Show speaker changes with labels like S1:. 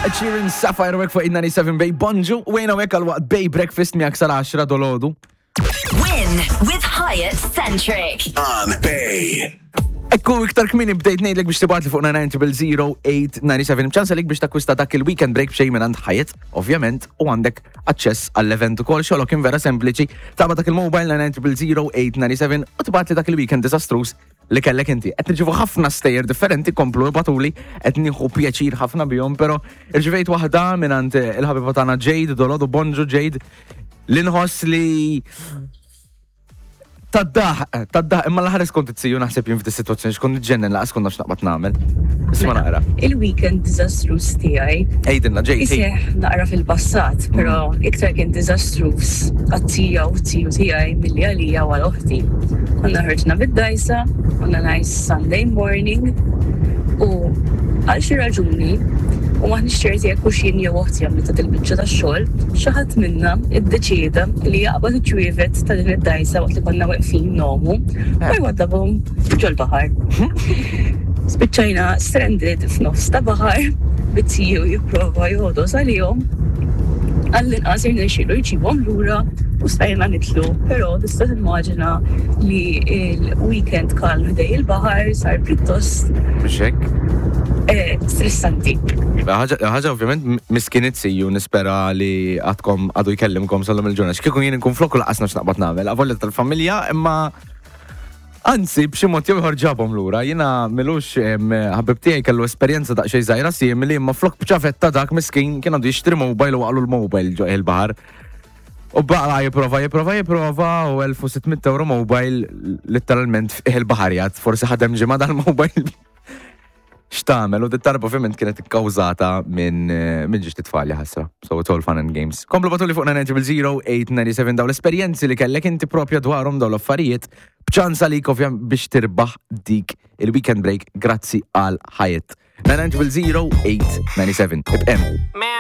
S1: Ed Sheeran, Sapphire Work fuq 97 Bay Bonġu, u għajna għek għal-waqt Bay Breakfast miegħek sal-10 dolodu.
S2: Win with Hyatt Centric.
S3: On Bay.
S1: Ekku iktar kmini bdejt ngħidlek biex tibgħatli fuq 9900897 ċans għalik biex takkwista dak il-weekend break b'xejn minn għand Hyatt, ovvjament, u għandek aċċess għall-event ukoll xogħlok kien vera sempliċi. Taqbad dak il-mobile 9900897 u tibgħatli dak il-weekend diżastruż li kellek inti. Qed nirċievu ħafna stejjer differenti, komplu ibatuli, qed nieħu pjaċir ħafna bihom, però irċivejt waħda minn il-ħabiba tagħna Jade, dolodu bonġu Jade, li nħoss li Tad-daħ, tad-daħ, imma l-ħares kont it-siju naħseb jien f'di situazzjoni xkont nġennen laqas kont nafx naqbad nagħmel. Isma' naqra.
S4: Il-weekend diżastruż tiegħi.
S1: Ejdilna ġej.
S4: Iseħ naqra fil-passat, però iktar kien diżastruż għat-tija u t-tiju tiegħi milli għalija u għal oħti. Konna ħarġna bid-dajsa, konna nice Sunday morning u għal xi raġuni u maħniex ċerti jekk hux jien jew oħti għamlitha dil-biċċa tax-xogħol, xi ħadd minna iddeċieda li jaqbad iċ-ċwievet ta' din id-dgħajsa waqt li konna weqfin ngħumu u jwaddabhom ġol-baħar. Spiċċajna stranded f'nofs ta' baħar bit-tiju jipprova jogħdos għalihom. Għall-inqas irnexxielu jġibhom lura u stajna nitlu, però tista' timmaġina li l-weekend kalm ħdej il-baħar sar pjuttost
S1: Mhux hekk?
S4: Eh, stressanti.
S1: Ħaġa ovvjament miskin it-siju nispera li għadkom għadu jkellimkom sal-lum il-ġurnata. X'kieku jien inkun flokku laqas nafx naqbad nagħmel, avolja tal-familja, imma Anzi, b'xi mod jew ieħor ġabhom lura. Jiena milux ħabib tiegħi kellu esperjenza daqsxejn żgħira simili, imma flok b'ċavetta dak miskin kien għandu jixtri mobile u waqgħlu l-mobile ġo il-baħar. U baqa jipprova, jipprova, jipprova u 1600 euro mobile letteralment fih il-baħar jgħad. Forsi ħadem ġimgħa dal-mobile. X'tagħmel u dit-tarba ovvjament kienet ikkawżata minn eh, minn ġiex titfal ħasra. So it's all fun and games. Komplu batuli fuq 900 daw l-esperjenzi li kellek inti propja dwarhom daw l-affarijiet b'ċans għalik ovvjament biex tirbaħ dik il-weekend break grazzi għal ħajet. 900 897. Ibqem.